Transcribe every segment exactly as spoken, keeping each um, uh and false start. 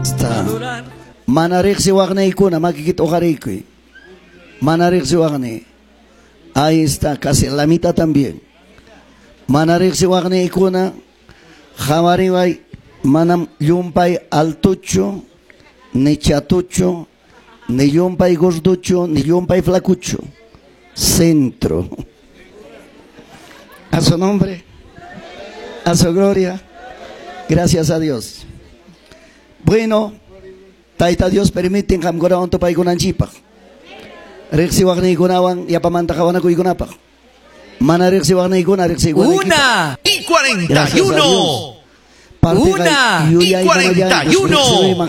Está. Mana riqsiwaqniykuna makikita uqariykuy. Mana riqsiwaqni. Ahí está, casi la mitad también. Mana riqsiwaqniykuna qawariway manam llumpay altuchu, ni chatuchu, ni llumpay gorduchu, ni llumpay flacucho. Centro. A su nombre, a su gloria. Gracias a Dios. Bueno, Tayta Dios permiten qamkunawan tupaykunanchikpaq. Riqsiwaqniykunawan yapamanta qawanakuykunapaq. Mana riqsiwaqniykuna riqsiwaqniykipaq. Una y cuarenta y Gracias a uno. Dios. Parte Una kay y yuyay cuarenta y uno. Una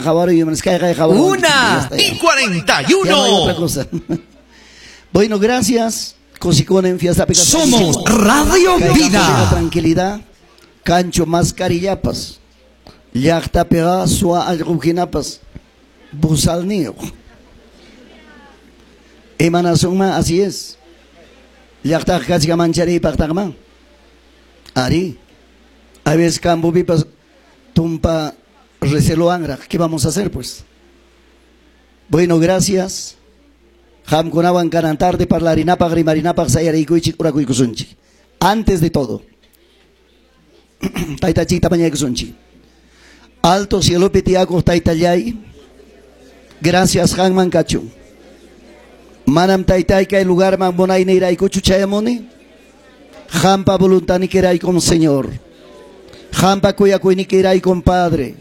y cuarenta y Ya no hay uno. otra cosa. Bueno, gracias. Cosicón en fiesta pica- Somos Radio Kay Vida. Tranquilidad. Cancho mascarillapas. Llaqta pega sua allqujinapas. Busalnio. Emanasunma, así es. Llaqta kachka manchariypaqtaqman. Ari. A veces cambupipas tumpa receloanraq. ¿Qué vamos a hacer pues? Bueno, gracias. Qamkunawan kanan tarde parlarinapaq rimarinapaq sayarikuychik urakuykusunchik. Antes de todo, taytachikta mañaykusunchik. Alto cielopi tiyakuq taytallay, gracias qanman kachun. Manam taytay kay lugarman munayniraykuchu chayamuni. Qampa voluntanikiraykum Señor. Qampa kuyakuynikiraykum Padre.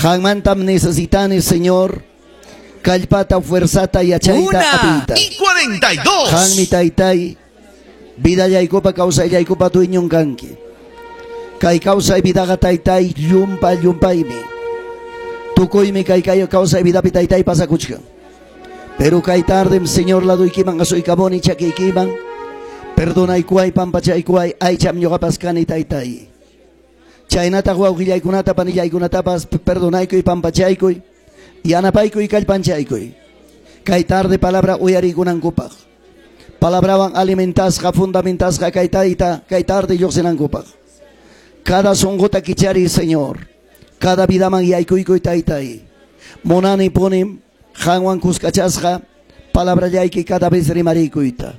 Qanmantam necesitani Señor. Kallpata, fuerzata yachayta Una apiyta. Y cuarenta y dos. Qanmi taytay, vidallaykupa kawsayllaykupaq dueñon kanki. Kay kawsay vidaqa taytay llumpa llumpaymi. Tukuymi kay kay kawsay vidapi taytay pasakuchkan. Pero kay tardem Señor laduykiman asuykamuni chakiykiman. Perdonaykuway pampachaykuway aycham ñuqapas kani taytay. Chaynataq wawqillaykunata panillaykunatapas perdonaykuy pampachaykuy. Yanapaykuy kallpanchaykuy. Kay tarde palabra uyariykunankupaq. Palabrawan alimentasqa fundamentasqa kay tayta kay tarde lluqsinankupaq. Cada sunquta kichariy Señor. Cada vidaman yaykuykuy taytay. Munani punim qanwan kuskachasqa palabrallayki cada vez rimarikuyta.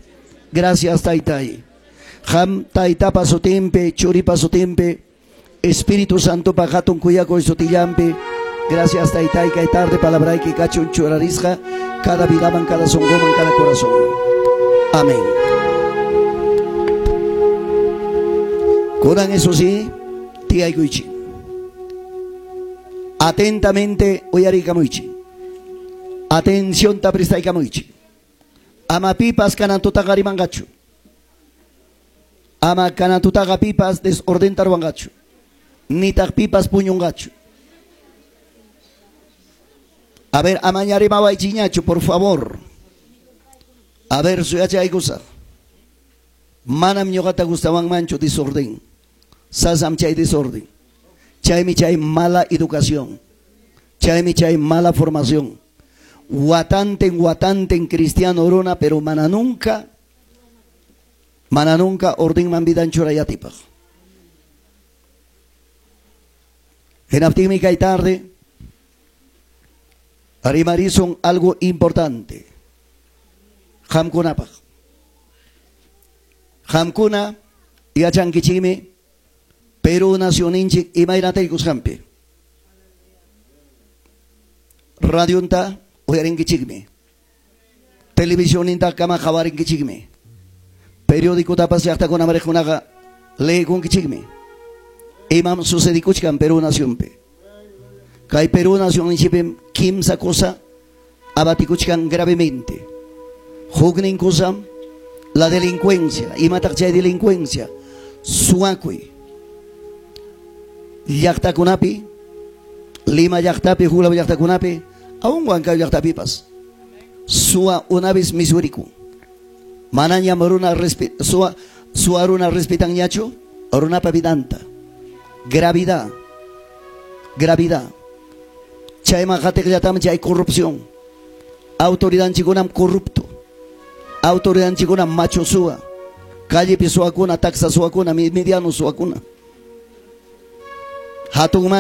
Gracias taytay. Qam taytapa sutinpi, churipa sutinpi, Espíritu Santopa hatun kuyakuy sutillanpi. Gracias taytay kay tarde palabrayki kachun churarisqa cada vidaman, cada sunquman, cada corazón. Amén. Kunan eso sí, tiyaykuychik. Atentamente uyarikamuychik. Atención ta prestaykamuychik. Ama pipas kanantutaqa rimanqachu. Ama kanantutaqa pipas desordenta ruwanqachu. Nitaq pipas puñunqachu. A ver, amaña rimawaychiñachu, por favor. A ver, suyachaykusaq. Manam ñuqata gustawanmanchu desorden. Sasam chay desorden. Chaymi chay mala educación. Chaymi chay mala formación. Watanten, watanten cristiano runa, pero mana nunca, mana nunca ordenman vidan churayatipaq. Hinaptinmi kay tarde, rimarisun algo importante. Qamkunapaq. Qamkuna yachankichikmi Perú nacioninchik imaynataykusqanpi. Radionta uyarinkichikmi. Televisioninta kama qawarinkichikmi. Periódicotapas llaqtakuna mariqkunaqa leekunkichikmi. Imam sucedikuchkan Perú nacionpi. Kay Perú nacionninchikpim kimsa cosa abatikuchkan gravemente. Huknin cosa la delincuencia, imataq chay delincuencia, suwakuy. Llaqtakunapi, Lima llaqtapi, Hulaw llaqtakunapi, aún Huancayo llaqtapipas. Suwa una vez misuriku. Manañam runa respe, suwa, suwa runa respetanñachu, runapa vidanta. Gravidad. Gravidad. Chayman qatiqllatam chay corrupción. Autoridadchikunam corrupto. Autoridadchikunam macho suwa. Callepi suwakuna, taxa suwakuna, mediano suwakuna. Hatunman